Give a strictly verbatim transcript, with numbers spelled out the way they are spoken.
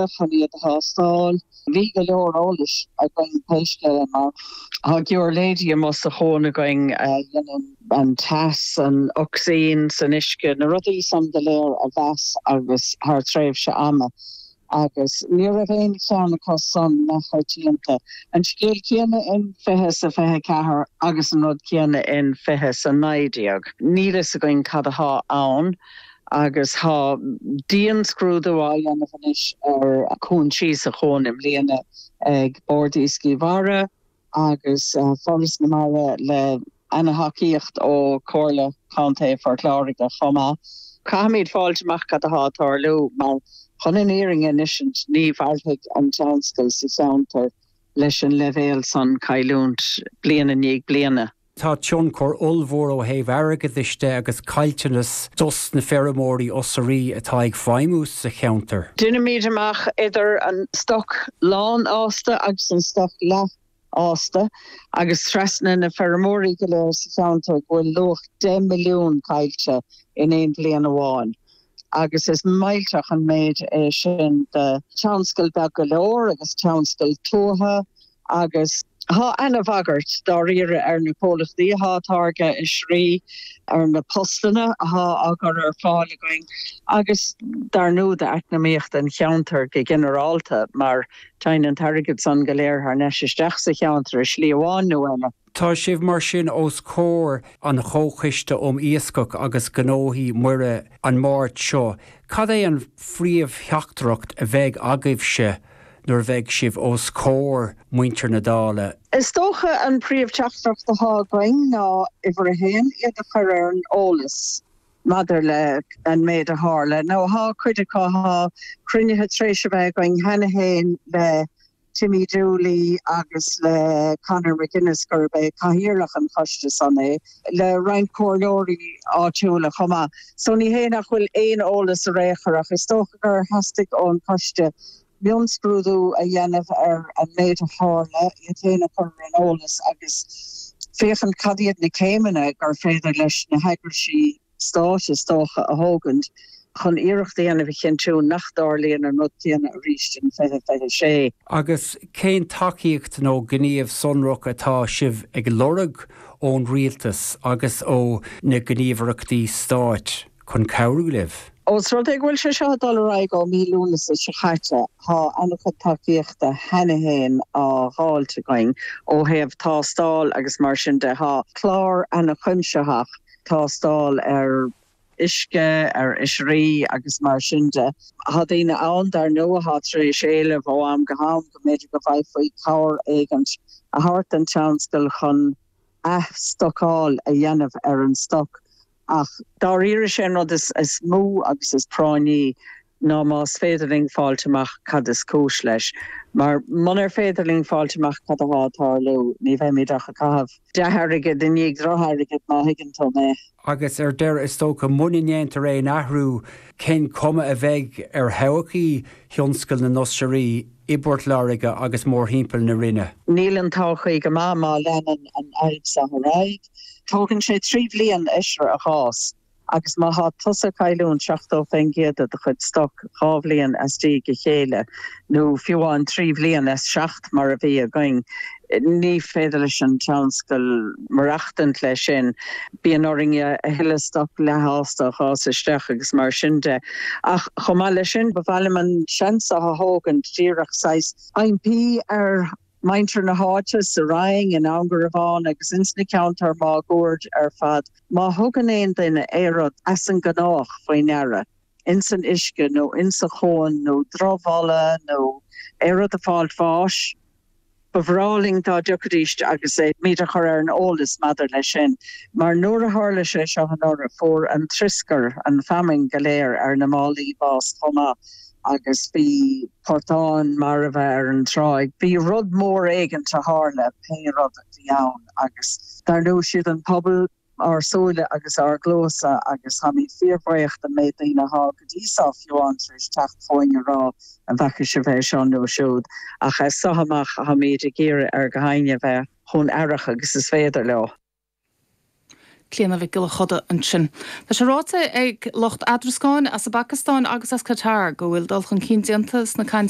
chun iad a thástáil. Bhí go leor eolais againn pé scéal é mar tá giuirléidí amuigh sa chuan againn a dhéanann an teas, an ocsaigin san uisce, na rudaí san go léir a mheas agus thar tréimhse ama. Agus ní raibh aon cheann acu san neamhchoitianta. An scéal céanna in fiche is a fiche ceathair agus an rud céanna in fiche is a naoi déag. Níl fhios againn cad athá ann. Agus tá dianscrúdú á dhéanamh anois ar chúinsí sa chuan i mbliana ag Bord Iascaigh Mhara agus Foras na Mara le ana-thacaíocht ó Chomhairle Contae Phort Láirge chomh maith. Caithfimid fáilt amach cad atá ag tarlú mar chun an fhírinne a insint ní mhairfidh an tionscal sa cheantar leis an leibhéal san cailliúint bliain i ndiaidh bliana. Tá tionchar ollmhór ó thaobh airgeadais de agus caillteanas dos na feirmeoirí oisrí atá ag feidhmiú sa cheantar. Deinimid amach idir an stoc lánfhásta agus an stoc leathfhásta agus trasna na feirmeoirí go léir sa cheantar go bhfuil luach deich milliún caillte in aon bhliain amháin. Agus is millteach an méid é sin do tionscal beag go leor agus tionscal tuaithe agus Tá ana-bhagairt dáiríre ar na comhlachtaí atá ag táirgeadh oisrí, ar na postanna atá á gcur ar fáil againn agus dar ndóigh d'eacnamaíocht an cheantair go ginearálta mar téann an t-airgead san go léir thar n-ais isteach sa cheantar i slí amháin nó eile. Tá sibh mar sin os comhair an Chomhchoiste um Iascach agus Gnóthaí Muirí an Máirt seo. Cad é an phríomhtheachtaireacht a bheidh agaibhse nuair a bheidh sibh os comhair muintir na Dála? Is dócha an príomhtheachtaireacht atá againn ná, uimhir a haon, iad a chur ar an eolas maidir le an méid a tharla. Nó thá cuid acu, thá cruinnithe tar éis a bheith againn cheana féin le Timmy Dooley agus le Conor McGuinness, gurb é cathaoirleach an choiste san é, le roinnt comhairleoirí áitiúla chomh maith. So ní hé nach bhfuil aon eolas ar aon chor ach is dócha gur theastaigh ón choiste mionscrúdú a dhéanamh ar an méid a tharla, iad féin a chur ar an eolas agus féachaint cad iad na céimeanna gur féidir leis na heagraisí stáit, is dócha, a thógaint chun iarracht a dhéanamh a chinntiú nach dtarlaíonn an rud céanna arís in fiche fiche sé. Agus cén tacaíocht nó gníomh sonrach atá sibh ag lorg ón rialtas agus ó na gníomhaireachtaí stáit chun cabhrú libh? Ós rud é go bhfuil sé seo ag dul ar aghaidh ó mí Lúnasa seo caite, tá an-chuid tacaíochta cheana féin á dháilt againn ó thaobh tástáil agus mar sin de. Tá clár an-chuimsitheach tástáil ar uisce, ar oisrí agus mar sin de. Tá daoine ann, dar ndóigh, atá tar éis éileamh ó am go ham go mb'fhéidir go bhféadfaí cabhair éigint a thabhairt don tionscal chun athstocáil a dhéanamh ar an stoc. Ach dáiríre is é an rud is mó agus is práinní ná más féidir linn fáilt amach cad is cúis leis. Mar munar féidir linn fáilt amach cad atá ag tarlú, ní bheimid ach ag caitheamh dea-airgid i ndiaidh drochairgid, má thuigeann tú mé. Agus ar deireadh, is dócha, muna ndéantar aon athrú, cén cuma a bheidh ar thodhchaí thionscal na n-oisrí i bPort Láirge agus mórthimpeall na Rinne? Níl an todhchaí go maith má leanann an fhadhb seo ar aghaidh. Tógann sé trí bhliain oisre a dh'fhás agus má thá tusa ag cailliúint seachtó faoin gcéad de do chuid stoc dhá bhliain as diaidh a chéile, nó fiú amháin trí bhliain as seacht mar a bhí againn, ní féidir leis an tionscal maireachtaint leis sin. Bíonn orainn a thuilleadh stoc leathfhásta a dh'fhás isteach agus mar sin de. Ach chomh maith leis sin, ba mhaith liom an seans seo a thógaint díreach saghas impí ar mhuintir na háite, sa Rinn, in Abhann Garbhán agus ins na ceantair máguaird ar fad, má thugann aon duine aon rud as an ngnách faoi ndeara, ins an uisce nó ins an chuan nó drochbholadh nó aon rud ag fáilt bháis, Ba bhreá linn dá dtiocfaidís agus muid a chur ar an eolas maidir leis sin, mar nuair a tharla sé seo anuraidh, fuair an trioscar, an fheamainn go léir ar na málaí bás chomh maith agus bhí portáin marbha ar an tráigh. Bhí rud mór éigint a tharla, pé rud a bhí ann, agus dar ndóigh siad an pobal, ár súile agus ár gcluasa agus táimid fíorbhuíoch den méid daoine athá go dtí seo fiú amháin tar éis teacht chugainn a rá an bhfaca sibh é seo nó siúd ach as seo amach táimid ag iarraidh ar gach éinne bheith chomh aireach agus is féidir leo. Clíona Mhic Giolla Choda ansin. Tá sé ráite ag lucht eadrascáin as an bPacastáin agus as Qatar go bhfuil dul chun cinn déanta sna cainteanna